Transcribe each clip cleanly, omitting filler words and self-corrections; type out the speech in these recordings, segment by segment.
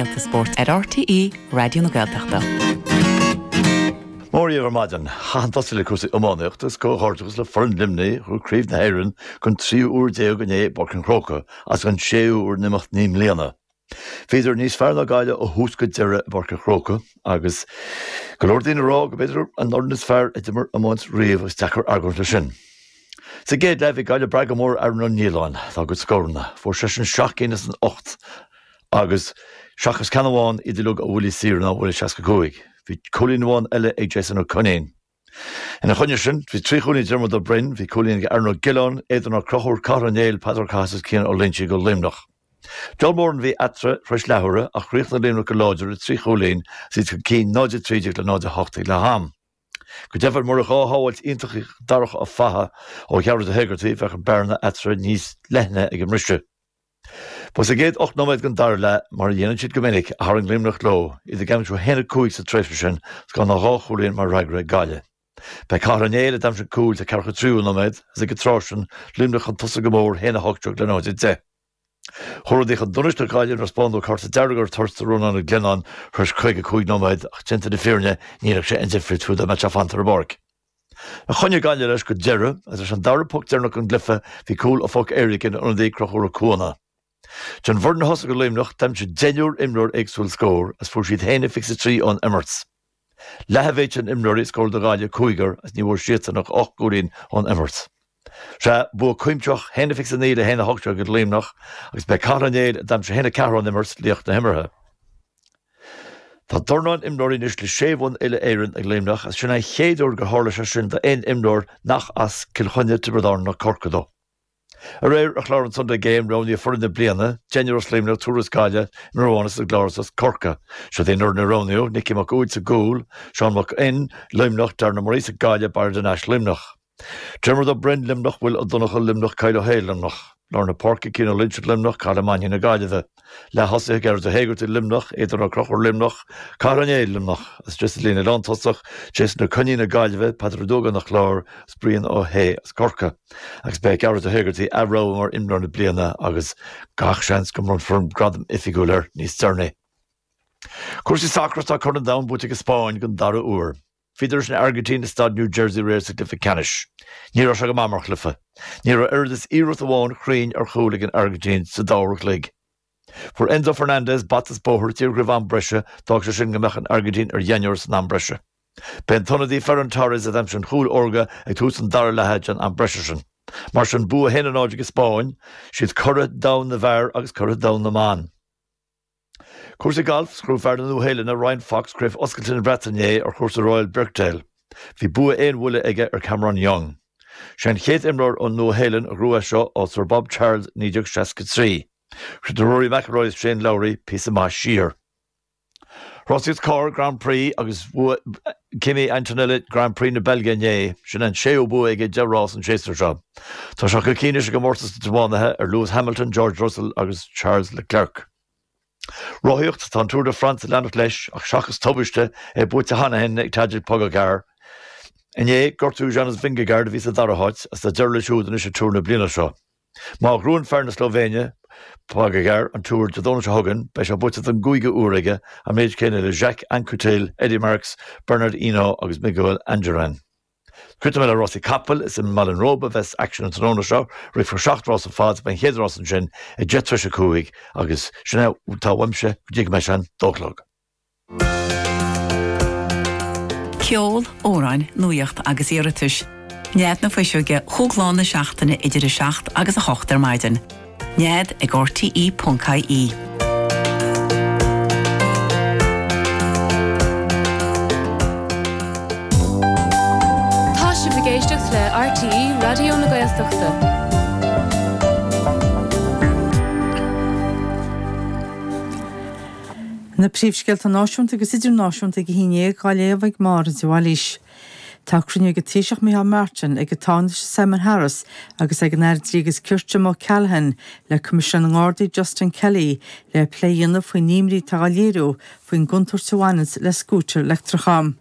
Scéalta Spóirt ar RTÉ Raidió na Gaeltachta. Mora dhaoibh ar maidin. Chaithfinn tosú le cúrsaí iománaíochta agus comhghairdeachas le foireann Luimnigh a ghnóthaigh Craobh na hÉireann don tríú huair déag inné i bPáirc an Chrócaigh agus don séú huair in imeacht 9 mbliana. Bhíodar níos fearr ná Gaillimh ó thús go deireadh i bPáirc an Chrócaigh agus go leor daoine ag rá go mb'fhéidir an fhoireann is fearr a d'imir iomáint riamh agus deacair argóint leis sin. Sa gcéad leath bhí Gaillimh ag brath go mór ar Aaron Ó Nialláin dá gcuid scóranna. Fuair seisean 7 gcinn as an 8 agus seachas ceann amháin iad uilig ó bhuillí saora nó ó bhuille 65. Bhí cúilín amháin eile ag Jason Ó Coinín. Ina choinne sin, bhí 3 chúilín ag Diarmuid Ó Broin, bhí cúilín ag Aaron Ó Giolláin, Aodán Ó Conchúir, Cathal Ó Néill, Peadar Ó Cathasaigh agus Cian Ó Loingsigh do Luimneach. Deabhal mórán a bhí eatarthu tar éis leathuaire ach chríochnaigh Luimneach go láidir le 3 chúilín agus iad chun cinn 0-13 le 0-8 ag leath am. Go deimhin, murach dhá shábháilt iontach ag Darach Ó Fatha ó Ghearóid Ó hÉigeartaigh, bheadh an bearna eatarthu níos leithne ag an mbriseadh. Ba sa gcéad 8 nóiméad den dara leath, mar a dhéanann siad go minic, a tharraing Luimneach leo, iad ag aimsiú 1-5 sa tréimhse sin agus gan ach dhá chúilín mar fhreagra ag Gaillimh. B'é Cathal Ó Néill a d'aimsigh an cúl sa ceathracha tríú nóiméad agus ag an tráth sin, Luimneach chun tosaigh go mór, 1-18 le 0-10. Chuaigh rudaí chun donais do Ghaillimh nuair a spáineadh cárta dearg ar toirt do Rónán Ó Glionnáin tar éis 55 nóiméad ach déanta na fírinne ní dhéanfadh sé aon difríocht fiú dá mbeadh sé fanta ar an bpáirc. Choinnigh Gaillimh leis go deireadh agus leis an dara poc deireanach den gcluiche bhí cúl ó phoc éirice ag an ionadaí Conchúr Ó Cuana. Den bhfoireann a thosaigh do Luimneach, d'aimsigh deichniúr imreoir éagsúil scór agus fuair siad 1-23 ón imirt. Leath a mhéid sin imreoirí a scóráil do Ghaillimh, cúigear, agus ní bhfuair siadsan ach 8 gcúilín ón imirt. Sea, bua cuimsitheach, 1-29 le 1-18 ag Luimneach agus b'é Cathal Ó Néill a d'aimsigh 1-4 ón imirt, laoch na himeartha. Tá dornán imreoirí anois le sé bhonn uile-Éireann ag Luimneach agus sin an chéad uair gur tharla sé sin d'aon imreoir nach as Cill Chainnigh, Tiobraid Árann ná Corcaigh dó. Aréir ar chlár an Sunday Game roghnaíodh foireann na bliana, deichniúr as Luimneach, triúr as Gaillimh, imreoir amháin as an gClár agus as Corcaigh. Siod í an fhoireann a roghnaíodh, Nicky Mac Uaid sa gcúl, Seán Mac Fhinn, Luimneach, Darren Ó Muiríosa, Gaillimh, Barra de Nash, Luimneach. Diarmuid Ó Broin, Luimneach, Will Ó Donnchadha, Luimneach, Kyle Ó hAodha, Luimneach. Lár na páirce, Cian Ó Loingsigh, Luimneach, Cathal Ó Mainnín na Gaillimhe. Leath-thosaithe, Gearóid Ó hÉigeartaigh, Luimneach, Aodán Ó Conchúir, Luimneach, Cathal Ó Néill, Luimneach. Agus istigh sa líne lántosach, Jason Ó Coinín na Gaillimhe, Peadar Ó Dúgáin an Chláir agus Brian Ó hAodha as Corcaigh. Agus beidh Gearóid Ó hÉigeartaigh ath-rogha mar imreoir na bliana agus gach seans go mbronnfar an gradam oifigiúil air níos deireanaí. Cúrsaí sacair, Tá Corn an Domhain buaite ag an Spáinn den dara huair. Bhíodar leis an Airgintín i Staid New Jersey aréir sa gcluiche ceannais. Ní raibh sé go maith mar chluiche. Ní raibh oiread is iarracht amháin chruinn ar chúl ag an Airgintín sa dá uair a chloig. Fuair Enzo Fernandez bata is bóthar díreach roimh am breise, d'fhág sé sin go mbeadh an Airgintín ar dheichniúr san am breise. B'é an t-ionadaí Ferran Torres a d'aimsigh an chúl órga ag tús an dara leatha den am breise sin. Mar sin, bua 1-0 ag an Spáinn, siad curaidh domhain na bhfear agus curaidh domhain na mban. Cúrsaí gailf, Ghnóthaigh fear na Nua-Shéalainne, Ryan Fox, Craobh Oscailte na Breataine inné ar chúrsa Royal Birkdale. Bhí bua aon bhuille aige ar Cameron Young. Sé an chéad imreoir ón Nua-Shéalainn a ghnóthaigh é seo ó Sir Bob Charles 1963. Chríochnaigh Rory McIlroy agus Shane Lowry píosa maith siar. Rásaíocht Carr Grand Prix agus bhuaigh Kimi Antonelli Grand Prix na Beilge inné. Sin an séú bua aige i deich rás an séasúr seo. Tá sé chun cinn anois i gcomórtas na dtiománaithe ar Lewis Hamilton, George Russell agus Charles Leclerc. Rothaíocht, Tá an Tour de France ag leanacht leis ach seachas tubaiste, é buaite cheana féin ag Tadej Pogacar. Inné, gortú Jonas Vingegaard a bhí sa dara háit agus tá deireadh leis siúd anois ag Tour na bliana seo. Má ghnóthaíonn fear na Slóivéine, Pogacar, an Tour Dé Domhnaigh seo chugainn, beidh sé buaite don gcúigiú huair aige, an méid céanna le Jacques Anquetil, Eddy Merckx, Bernard Hinault agus Miguel Indurain. Críochnóidh mé le rásaí capaill, is i mBaile an Róba a bheas aicsean an tráthnóna seo, rithfear 7 rás ar fad, beidh an chéad rás ansin ag 10 tar éis a 5 agus sin é atá uaimse go dtí go mbeidh sé an dó a chlog. Ceol, amhráin, nuaíocht agus iarratais. Nead na Fuiseoige chúig lá na seachtaine idir 7 agus 8 ar maidin. Nead ag rte.ie. Tá sibh ag éisteacht le RTÉ Raidió na Gaeltachta. Na príomhscéalta náisiúnta agus idirnáisiúnta ag a haon dhéag á léamh ag Máire de Bhailís. Tá cruinniú ag an Taoiseach Micheál Martin, ag an Tánaiste Simon Harris agus ag an Aire Dlí agus Cirt Jim O'Callaghan le Coimisinéir na nGardaí Justin Kelly le plé a dhéanamh faoin imní atá á léiriú faoin gcontúirt a bhaineanns le scútair leictreacha.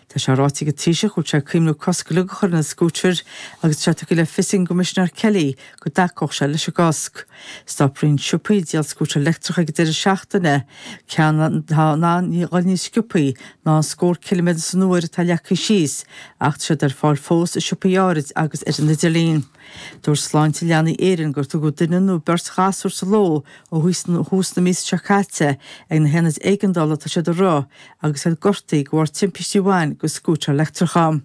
Tá sé ráite ag an Taoiseach go bhfuil sé ag cuimhniú cosc uilig a chur ar na scútair agus tá sé tugtha le fios ag an gCoimisinéir Kelly go dtacódh sé leis an gcosc. Stop roinnt siopaí ag díol scútair leictreacha ag an deireadh seachtaine, ceann atá in ann a dhul níos sciobthaí ná an scór ciliméadar san uair atá leagtha síos, ach tá siad ar fáil fós i siopaí áirid agus ar an idirlíon. Dúirt Sláinte Leanaí Éireann gur tugadh duine nó beirt ghasúr sa ló ó thús na míosa seo caite ag na haonaid éigeandála atá siad a rith agus iad gortaithe de bharr timpistí a bhain go scútair leictreacha.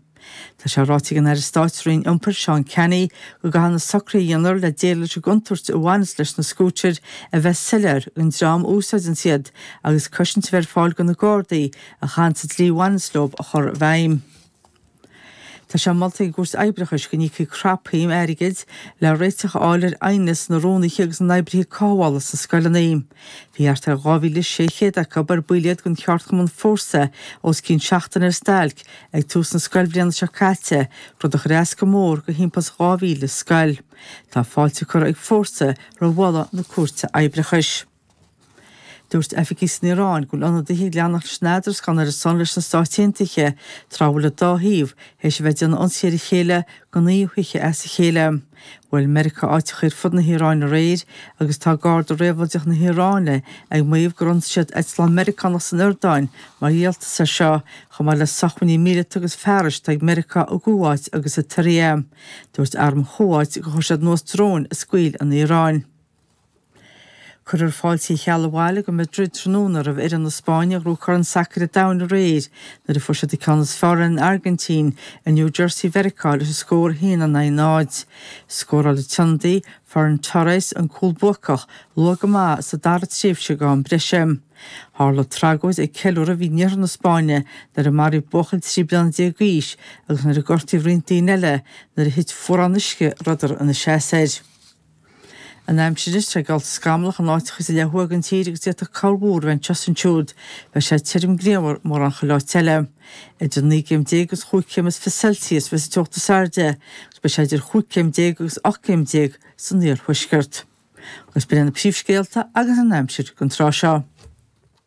Tá sé ráite ag an Aire Stáit sa Roinn Iompair, Seán Canney, go gcaithfidh na socruithe a dhéanfar le déileáil leis an gcontúirt a bhaineas leis na scútair a bheith soiléir don dream a úsáideanns iad agus cosaint a bheith ar fáil do na Gardaí a chaitheanns an dlí a bhaineanns leo a chur i bhfeidhm. Tá sé molta ag an gCúirt Oibreachais go n-íocfaí crapshuim airgid le réiteach a fháil ar aighneas na rúnaithe agus na n-oibrithe cothabhála sna scoileanna. Bhí thart ar 2,600 acu, ar baill iad den cheardchumann Fórsa, os cionn seachtaine ar stailc ag tús na scoilbhliana seo caite, rud a chuir as go mór do thimpeall is 2,000 scoil. Tá fáilte curtha ag Fórsa roimh mholadh na Cúirte Oibreachais. Dúirt oifigigh san Iaráin go bhfuil ionadaithe ag leanacht leis an eadrascán ar a son leis na Stáit Aontaithe tráth a bhfuil an dá thaobh théis a bheith ag déanamh ionsaithe ar a chéile go naoi hoíche as a chéile. Bhuail Meiriceá áiteacha ar fud na hIaráine aréir agus tá Garda Réabhlóideach na hIaráine ag maíomh gur ionsaigh siad eitleán Meiriceánach san Iordáin mar dhíoltas air seo, chomh maith le socmhainní míleata agus fearais atá ag Meiriceá i gCuáit agus i tSiria. Dúirt arm Chúáit gur chuir siad anuas dróin a scaoil an Iaráin. Cuirfear fáilte Uí Cheallaigh abhaile go Madrid tráthnóna roimh fhoireann na Spáinne a ghnóthaigh Corn Sacair an Domhain aréir nuair a fuair siad an ceann is fearr ar an Airgintín i New Jersey Mheiriceá leis an scór 1-0. Scóráil an t-ionadaí, Ferran Torres, an cúl buacach luath go maith sa dara tréimhse d'am breise. Tharla tragóid ag ceiliúradh a bhí in iarthar na Spáinne nuair a maraíodh buachaill 13 bliana d'aois agus nuair a gortaíodh roinnt daoine eile nuair a thit fuarán uisce a rabhadar ina seasamh air. An aimsir anois, tá sé geallta scamallach in áiteacha sa leath thuaidh den tír agus d'fhéadfadh corrmhúr a bheith anseo is ansiúd. Beidh sé tirim grianmhar mórán chuile áit eile. Idir 19 gcéim agus chúig chéim is 20 Celsius a bheas an teocht is airde agus beidh sé idir chúig chéim déag agus 18 céim san iarthuaisceart. Agus b'in iad na príomhscéalta agus an aimsir don tráth seo.